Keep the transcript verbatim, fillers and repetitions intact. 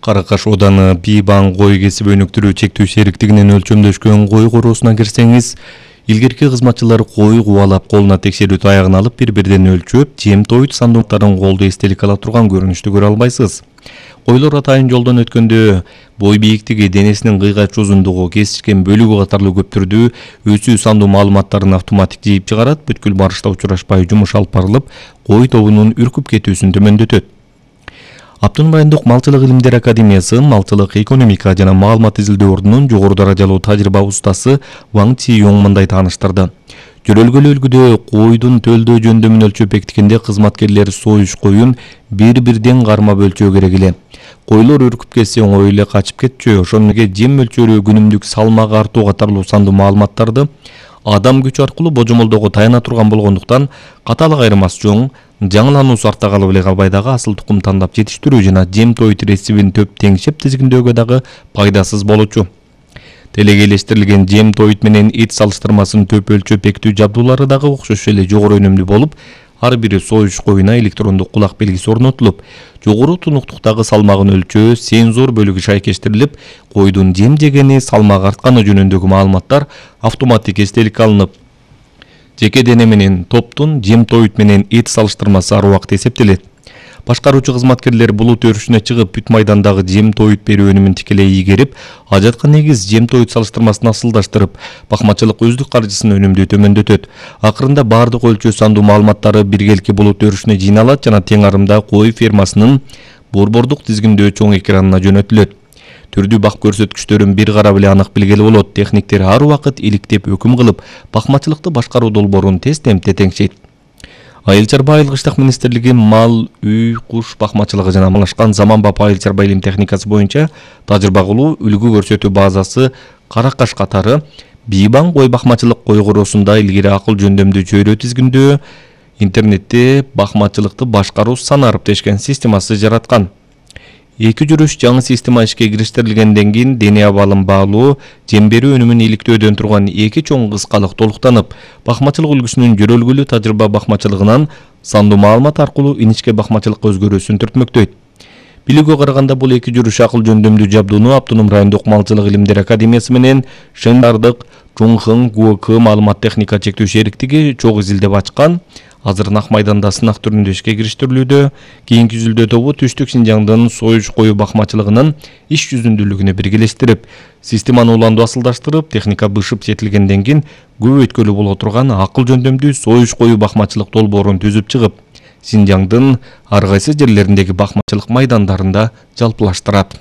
Каракаш Оданы Бийбаң кой кесип өнүктүрүү чектүү сериктигинин өлчөмдөшкөн кой короосуна кирсеңиз, илгерки кызматчылар кой кубалап колуна текшерүү таягын алып бири-бирден өлчөп, жем тоют сандуктарын колдо эстелик ала турган көрүнүштү көрө албайсыз. Койлор атайын жолдон өткөндө бой бийиктиги, денесинин кыйгач узундугу, кесишкен бөлүгү катарлуу көп түрдүү өсүү сандуу маалыматтарын автоматик жийип чыгарат, бүткүл барышта учурашпай жумуш алып барылып, кой тобунун үркүп кетүүсүн төмөндөтөт. Автоном райондук Малчылык илимдер академиясы Малчылык экономика жана маалымат изилдөө ордунун жогору даражалуу тажрыйба устасы Ваң Ци-Йонг мындай тааныштырды. Жөрөлгөлүү үлгүдө койдун төлдөө жөндөмүн өлчөп бекиткенде кызматкерлер союш коюн бири-бирден кармап өлчөө керек эле. Койлор үркүп кетсе оңой эле качып кетчү, ошону менен жем мөлчөрү, күнүмдүк салмак артуу катарлуу сандуу маалыматтарды адам күчү аркылуу божомолдоого таяна турган болгондуктан каталык айырмасы жоң, жаңылануусу арта калып эле калбай дагы асыл тукум тандап жетиштирүү жана жем тоют рецептин төп теңшеп тизгиндөөгө дагы пайдасыз болчу. Телекейлештирилген жем тоют менен эт салыштырмасынын төп өлчөп бекитүү жабдуулары дагы окшош эле жогору өнүмдүү болуп, ар бири союш коюна электрондук кулак белгиси орнотулуп, жогору тунуктуктагы салмагын өлчөө сензор бөлүгү шайкештирилип, койдун жем жегени, салмак артканы жөнүндөгү маалыматтар автоматик эстеликке алынып, жеке дене менен топтун жем тоют менен эт салыштырмасы ар убакыт эсептелет. Башкаруучу кызматкерлер булут өрүшүнө чыгып, бүт майдандагы жем тоют берүү өнүмүн тикелей ийгерип, ажаткан негиз жем тоют салыштырмасын асылдаштырып, бакмачылык өздүк каржысын өнүмдүү төмөндөтөт. Акырында бардык өлчөө сандуу маалыматтары биргелки булут өрүшүнө жыйналат жана тең арымда кой фермасынын борбордук тизгиндөө чоң экранына жөнөтүлөт. Түрдүү бак көрсөткүчтөрүн бир карап эле анык билгеле болот. Техниктер ар убакыт иликтеп өкүм кылып, бакмачылыкты башкаруу долбоорун тез темпте теңшейт. Айыл чарба айылгычтык министрлиги мал, үй, куш бакмачылыгы жана малашкан заманбап айыл чарба илим техникасы боюнча тажрыйба кылуу, үлгү көрсөтүү базасы Каракаш катары Бийбаң кой бакмачылык кой короосунда илгери акыл жөндөмдүү чөйрө тизгиндөө, интернетте бакмачылыкты башкаруу санарып дешкен системасы жараткан. Эки жүрүш жаңы система ишке кириштирилгенден кийин дене абалын баалоо, жем берүү өнүмүн иликтөөдөн турган эки чоң кыскалык толуктанып, бакмачылык үлгүсүнүн жөрөлгөлүү тажрыйба бакмачылыгынан сандуу маалымат аркылуу иничке бакмачылыкка өзгөрүүсүн түртмөктөйт. Билүүгө караганда бул эки жүрүш акыл жөндөмдүү жабдууну Автоном райондук Малчылык илимдер академиясы менен Шендардык Чоңхың ГУК маалымат техника чектүү шериктиги чогуу изилдеп ачкан. Азыр Нак майданда сынак түрүндө ишке кириштирилүүдө. Кийинки изилдөө тобу Түштүк Синжаңдын союш коюу бакмачылыгынын иш жүзүндүүлүгүнө биргелештирип, системаны уланду асылдаштырып, техника бышып жетилгенден кийин көп өткөлүү боло турган акыл жөндөмдүү союш коюу бакмачылык долбоорун түзүп чыгып, Синжаңдын ар кайсы жерлериндеги бакмачылык майдандарында жалпылаштырат.